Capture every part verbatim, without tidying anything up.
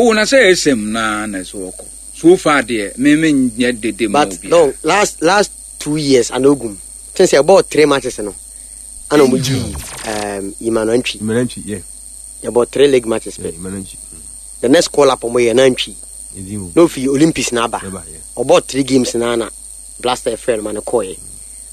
O na sɛ S M na na sɛ ɔkɔ so far deɛ, me me nyɛ dede ma But obiara. No, last last two years anogum since yɛbɔɔ three matches no ana ɔmo gyi um, Emmanuel Ntwi. Emmanuel Ntwi, yeah. Yɛbɔ three league matches yeah pɛ. Emmanuel Ntwi. The next call up ɔmo yɛ na Ntwi ɛdi mu na ofi Olympics na aba. Ɛba, yeah. Ɔbɔ three games na na Blaster frɛ no ma no kɔɛ.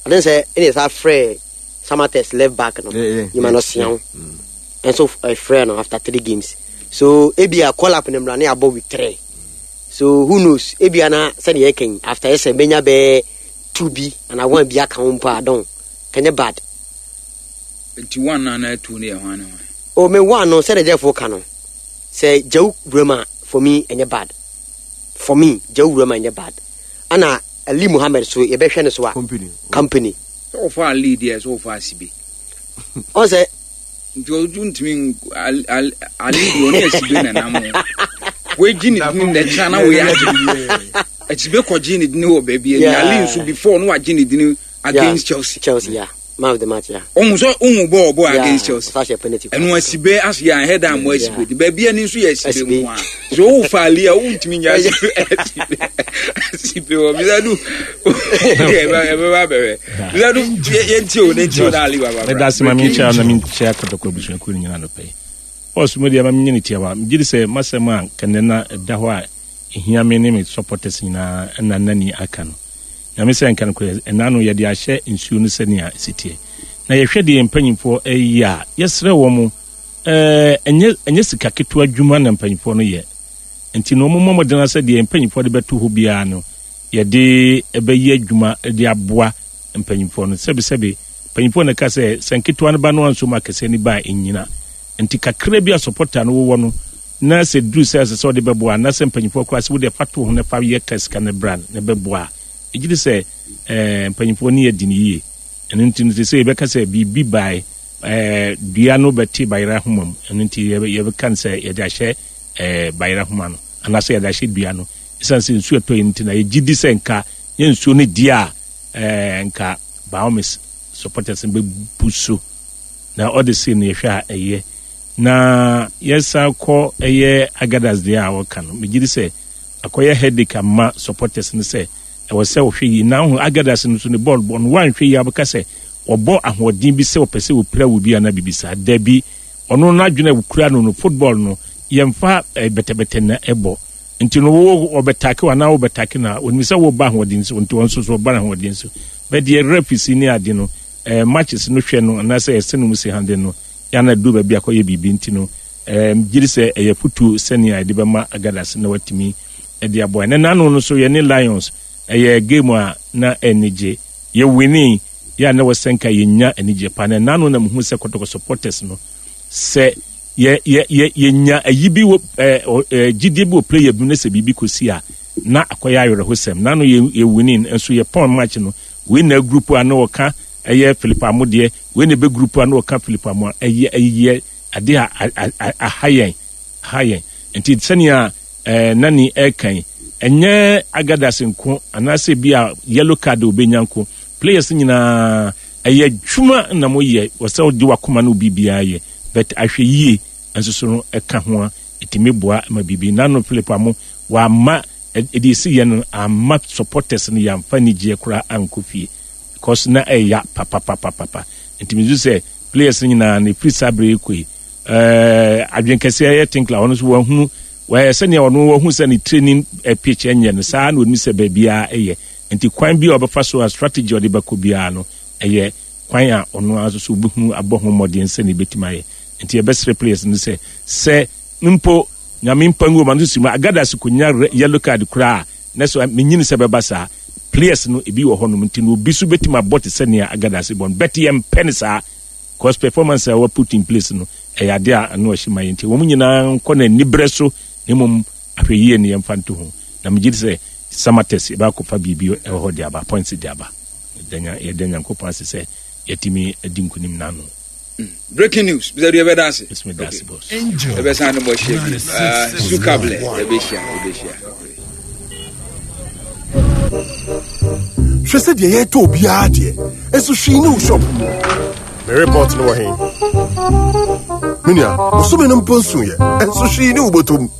Ade sɛ ɛna yɛsa frɛ Samatex left back no, Yeah, yeah, Emmanuel yeah, Siaw Mm. ɛnso ɛfrɛ no after three games, so ebia call up no mmra ne abɔ week three, so who knows, ebia na sɛdeɛ yɛka yi, after ɛsɛ bɛnya bɛɛ two bi ana one bi aka ho mpo a, don kɛnyɛ bad. Nti one na na two no yɛ hwan ne hwan? O, me one no, sɛdeɛ Jeffo ka no, sɛ Gyaw wuram a, for me ɛnyɛ bad. For me, Gyaw wuram a ɛnyɛ bad, ana Ali Muhammed so yɛbɛhwɛ no so a Company. Company. Sɛ wɔfa Ali deɛ, sɛ wɔfa Asibe. Ɔn sɛ Nti ɔdu ntumi nk- Ali Ali Ali deɛ, ɔne Asibe na nam ho wegyi ne dini na ɛkyina na wei agye Asibe kɔgye ne dini wɔ baabi ani. Yeah. Ali nso before no wagye ne dini against yeah. Chelsea. Chelsea, yeah, man of the match, yeah. Ɔhu sɛ ɔhu bɔɔl bɔɔl yeah. against Chelsea. Ɔsa hyɛ penalty. Ɛno Asibe ase yɛ ahɛ da mo Asibe Yeah. di baabi ani nso yɛ Asibe Asibe. nko a so wofa Ali a wontumi nya Asibe Asibe Asibe wɔ bisadu ɛbɛba bɛhwɛ bisadu yɛntie o, ne ntie o na Ali baba. Meda ase ma menkyia na menkyia Kɔtɔkɔ abusuakuo no nyina nɔpɛ yi. Bɔs mu deɛ, ma menyɛ ne tiawa. Megye di sɛ masɛm a kɛnɛ na ɛda hɔ a ɛhia me ne me supporters nyinaa ɛna nani aka no, Nyame sɛ nka nokorɛ ɛna no yɛde ahyɛ nsuo no sɛnea ɛsi na yɛhwɛ deɛ mpanyimfoɔ ɛyɛ a, yɛsrɛ wɔ mo, ɛɛ, ɛnyɛ ɛnyɛ sika ketewa adwuma na mpanyimfoɔ no yɛ, nti na ɔmo mmɔ mmɔden sɛ deɛ mpanyimfoɔ de bɛto hɔ biara no, yɛde ɛbɛyɛ adwuma de aboa mpanyimfoɔ no. Sɛbisɛbi, mpanyimfoɔ no ka sɛ sɛ nketewa no ba no anso mu akɛseɛ no ba a ɛnyina, nti kakra bi a supporter no wowɔ no na sɛ duru sɛ ɛsɛ sɛ ɔde bɛboa anaasɛ mpanyimfoɔ koraa sɛ wode fa to ho na fa yɛ ka sika no bra na bɛboa a, ɛgye di sɛ ɛɛ mpanyimfoɔ no yɛ di no yie. Ɛno nti no, sɛ yɛbɛka sɛ biribi bae, ɛɛ dua no bɛte bayerɛ ahoma mu, ɛno nti yɛbɛ- yɛbɛka no sɛ yɛde ahyɛ ɛɛ bayerɛ ahoma no anaasɛ yɛde ahyɛ dua no, ɛsiane sɛ nsuo ɛtɔ yi nti na yɛgye di sɛ nka yɛ nsuo no di a, ɛɛ nka Baomis supporters no bɛbu so na ɔde sei no yɛhwɛ a ɛyɛ. Na yɛsan kɔ ɛyɛ Agadas deɛ a wɔka no, megye di sɛ akɔyɛ headache ama supporters no sɛ ɛwɔ sɛ wɔhwɛ yie na ho Agadas no so ne bɔɔl bɔ no, wanhwɛ yie abɛka sɛ wɔbɔ ahoɔden bi sɛ wɔpɛ sɛ wɔpira wɔ bi anaa biribi saa. Dabi, ɔno n'adwene a wɔkura no no football no yɛmfa eh, bɛtɛbɛtɛ na ɛbɔ, nti no wo ɔbɛtake wo anaa wobɛtake no a, onim sɛ woba ahoɔden so, nti wɔn nso so ɔba ahoɔden so. Bɛdeɛ referees ne ade no, eh, matches no hwɛ no anaasɛ ɛsɛ no mu si hande no yana duru baabi akɔyɛ biribi, nti no eh, gye di sɛ ɛyɛ futuo sɛnea yɛde bɛma Agadas na watumi ɛde aboa. Ɛnɛ nano no so yɛne Lions ɛyɛ game a na anigye yɛwini yɛ a na wɔsɛ nka yɛnya anigye pa. Na nano na mehu sɛ Kɔtɔkɔ supporters no sɛ yɛ yɛ yɛ yɛnya ayi bi wɔ ɛɛ ɔ- ɛɛ gyidie bi wɔ player bi mu na sɛ biribi kɔsi a, na akɔyɛ awerɛhosɛm. Nano yɛ yɛwini nso yɛ pɔn match no, wei na group a na wɔka ɛyɛ Philip Amodeɛ, wei na ɛbɛ group a na wɔka Philip Amo, ɛyɛ ɛyɛ ade a a- a- aha yɛn aha yɛn. Nti sɛnea ɛɛ nani ɛɛkan, ɛnyɛ Agadas nko anaasɛ bi a yellow card a obɛnya nko, players nyinaa ɛyɛ adwuma na moyɛ wɔ sɛ wode wakoma no biribiara yɛ, but ahwɛ yie nso so no ɛka ho a ɛtumi boa ma biribi. Nano Philip Amo wamma ɛde esi yɛ no amma supporters no yɛamfa anigyeɛ koraa ankɔ fie because na ɛya papapapapa. Nti mesu sɛ players no nyinaa no ɛfiri saa berɛ yi kɔ yi, ɛɛ adwenkɛseɛ yɛ Tinkler, ɔno nso wahunu wɔyɛ sɛnea ɔno wahu sɛ ne training eh, pitch ɛnyɛ no saa na onim sɛ baabiara ɛyɛ, nti kwan bi a ɔbɛfa so a strategy a ɔde bɛkɔ biara no ɛyɛ kwan a ɔno ara nso so wobɛhunu abɔ ho mmɔden sɛnea ɛbɛtumi ayɛ. Nti yɛbɛsrɛ players no sɛ sɛ mpo Nyame mpa ngu ɔma no so si mu Agadas konya re- yellow card koraa na so menyini sɛ bɛba saa players no ebi wɔ hɔnom, nti no obi so bɛtumi abɔ te sɛ nea Agadas bɔ no, but yɛmpɛ no saa cause performance a wɔ put in place no ɛyɛ ade a ano ɔhye ma yɛ, nti wɔn nyinaa nkɔ n'aniberɛ so na mmom ahwɛ yie ne yɛmfa nto ho. Na megye di sɛ Samatex yɛbɛakɔfa biribi ɛwɔ hɔ de aba, points de aba. Yɛda Nya- yɛda Nyankopɔn ase sɛ yɛtumi adi nkonim n'ano. Breaking news, bisɛ deɛ yɛbɛda ase. Ɛsɛ meda ase, boss. Yɛbɛsan ne bɔ hyia bi. Ah, sukable yɛbɛhyia yɛbɛhyia. Hwɛ sɛ deɛ yɛtɔ obiara deɛ ɛnso hwee ne wo shop mu. Me report no wɔ he? Me nua, bosome no mpo nsoeɛ ɛnso hwee ne wo bɔtɔm.